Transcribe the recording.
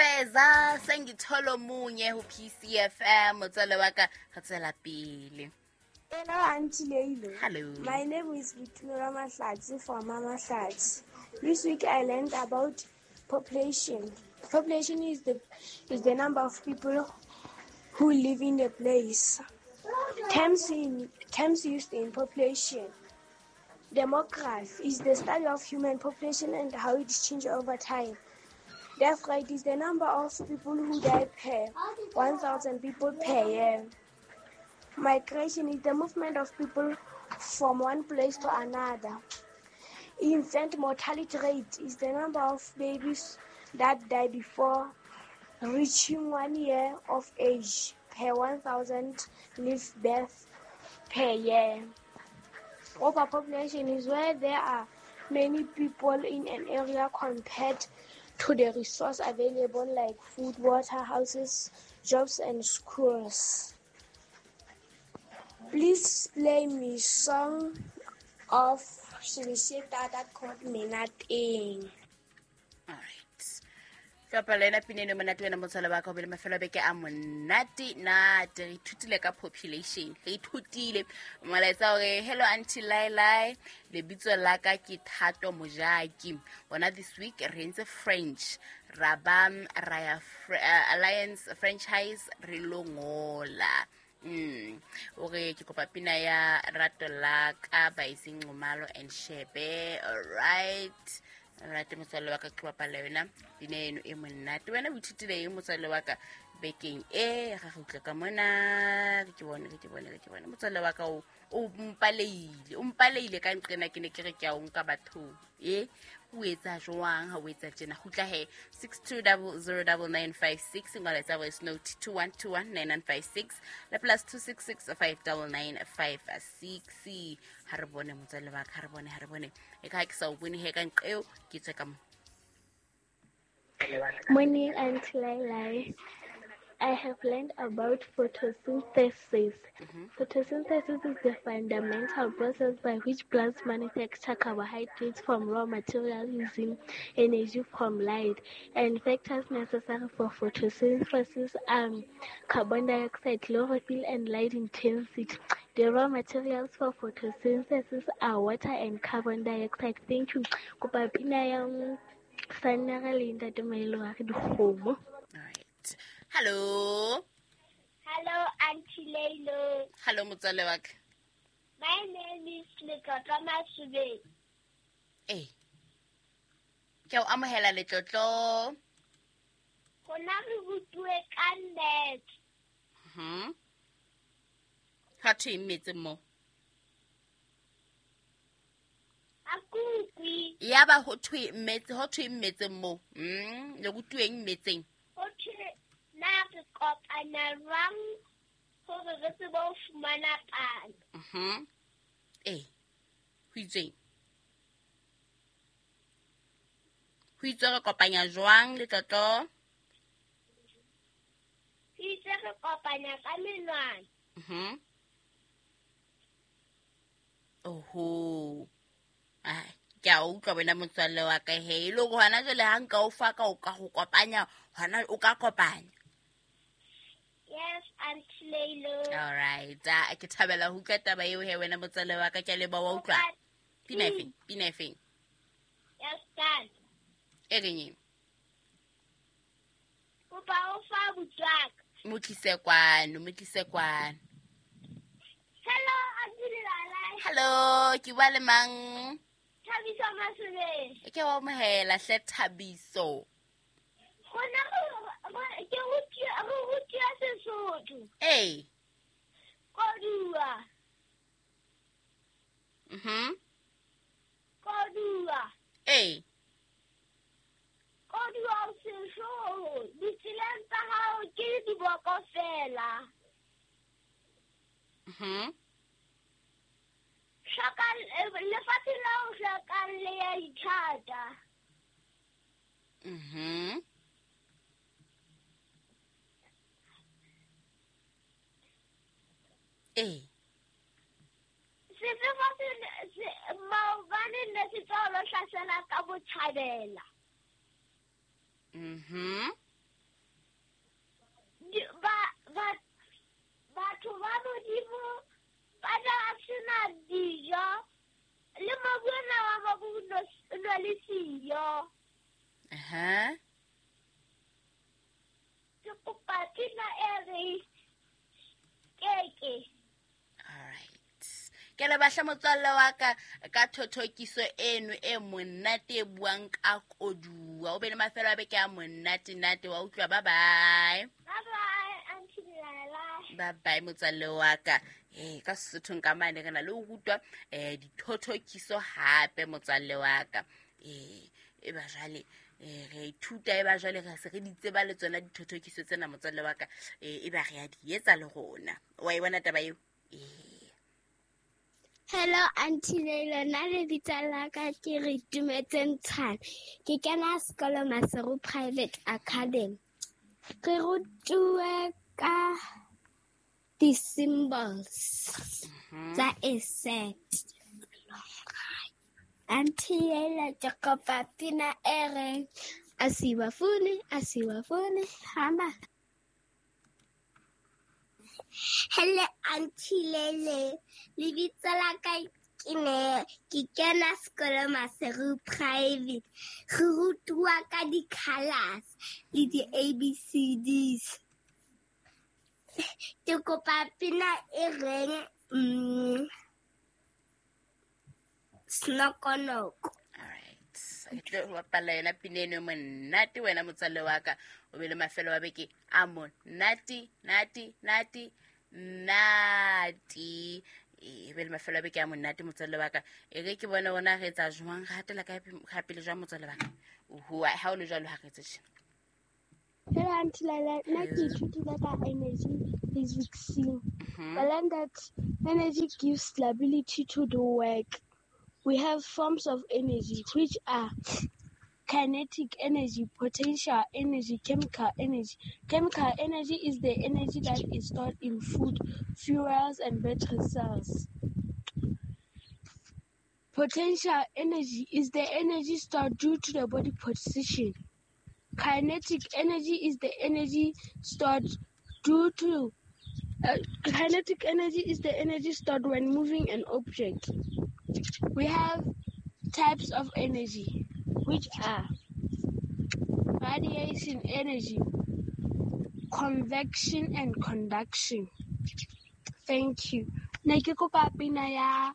Feza sengitholo munye ho PCFM motswalle wa ka re tswela pele. Hello, Auntie Leilo. Hello. My name is Victoria Mahlatsi from Mama Mahlatsi. This week I learned about population. Population is the number of people who live in a place. Terms used in population. Demography is the study of human population and how it changes over time. Death rate is the number of people who die per 1,000 people per year. Migration is the movement of people from one place to another. Infant mortality rate is the number of babies that die before reaching 1 year of age per 1,000 live births per year. Overpopulation is where there are many people in an area compared to the resources available like food, water, houses, jobs, and schools. Please play me song of Shilisheta that called me nothing. All right. Tlhopha le ena pina eno monate wena motswalo wa ka o be le mafelo a beke a monate nate re ithutile ka population re ithutile molaetsa hore hello Auntie Lailai lebitso la ka ke Thato Mojaki bona this week re entse French ra ba ra ya Alliance franchise re lo ngola. O re ke kopa pina ya rato la ka by Singomalo and Shebe. All right. Rate motswalle wa ka ke bapala yona pina eno e monate. Wena o ithutile eng motswalle wa ka bekeng e ga go utlwa ka mona ke bone motswalle wa ka o mpaleile ka nqena ke ne ke re ke a o nka bathong e o etsa jwang ha o etsa tjena kgutla he 62009956 ngola tsa voice note 21219956 le plus 266599956 ha re bone motswalle wa ka ha re bone e ka ke sa o bone he ka nqeo ke tswe ka mo. Morning, Auntie Lailai. I have learned about photosynthesis. Mm-hmm. Photosynthesis is the fundamental process by which plants manufacture carbohydrates from raw material using energy from light. And factors necessary for photosynthesis are carbon dioxide, chlorophyll, and light intensity. The raw materials for photosynthesis are water and carbon dioxide. Thank you. Kopa pina ya Sanera le Ntate Mailo wa re dikgomo. All right. Hello. Hello, Auntie Leilo. Hello, motswalle wa ka. My name is Letlotlo Masubeng. Eh. Ke o amohela Letlotlo. Rona re rutuwe ka nnete. Mhm. Ha thwe mmetse mo. Akukwi. Ya ba ho thwe mmetse mo. Le rutuweng mmetseng. Ho thwe na re kopana jwang hore re tsebe ho fumana palo. Mhm. Eh. Ho itsweng? Ho itswe re kopanya jwang Letlotlo? Ho itswe re kopanya ka menwana. Mhm. Oho. Ai, ke a utlwa wena motswalle wa ka he e le hore hona jwale ha nka o fa ka o ka go kopanya hona o ka kopanya. Yes, Auntie Leilo. All right. Ke thabela ho utlwa taba eo he wena motswalle wa ka ke a leboha wa utlwa. Pina e feng? Yes, done. E reng eng? Kopa o fa botswaka. Mo tlise kwano. Hello, Auntie Lailai. Hello, ke bua le mang? Thabiso Masubeng. Ke wa amohela hle Thabiso. Rona ke rutiwa Sesotho. Eh. Kodua. Mhm. Kodua. Eh. Kodua o sehloho, ditseleng tsa hao ke diboko fela. Mhm. Shaka lefatshe la o hlokang le ya ithata. Mhm. Eh. Sefefo se maobane ne se tswa lo hlasela ka botjhabela. Mhm. Ke lebahla motswalle wa ka ka thothokiso eno e monate e buang ka koduwa. O be le mafelo a beke a monate nate wa utlwa. Bye bye. Bye bye, Auntie Laila. Bye bye motswalle wa ka. Ee, ka Sesothong ka mane re na le ho rutwa dithothokiso hape motswalle wa ka. Ee, e ba jwale re ithuta, e ba jwale re se re di tseba le tsona dithothokiso tsena motswalle wa ka. E ba re a di etsa le rona. Wa e bona taba eo? Ee. Hello, Auntie Leila. Nna lebitso la ka ke re Tumetse Ntshane. Ke kena sekolo Maseru Private Academy. Re rutuwe ka di-symbols tsa a set. Auntie Leila, ke kopa pina e reng asiwafuni, asiwafuni, hamba. Hello, Auntie Lele. Lebitso la ka ke ne ke kena sekolo Maseru Private. Re rutuwa ka di-colours le di-ABCDs. Ke kopa pina e reng Snokonoko. All right. Ke tlo go bapalla yona pina eno e monate wena motswalle wa ka. O be le mafelo a beke a monate, nate, nate, nate. E be le mafelo a beke a monate motswalle wa ka. E re ke bone rona re etsa jwang, re hatela kae ga pele jwang motswalle wa ka. Oho, ha o le jwalo ha re etse tjena. Hello, Auntie Laila. Nna ke ithutile ka energy physics. I learned that energy gives the ability to do work. We have forms of energy, which are kinetic energy, potential energy, chemical energy. Chemical energy is the energy that is stored in food, fuels, and battery cells. Potential energy is the energy stored due to the body position. Kinetic energy is the energy stored due to kinetic energy is the energy stored when moving an object. We have types of energy, which are radiation energy, convection, and conduction. Thank you. Ne ke kopa pina ya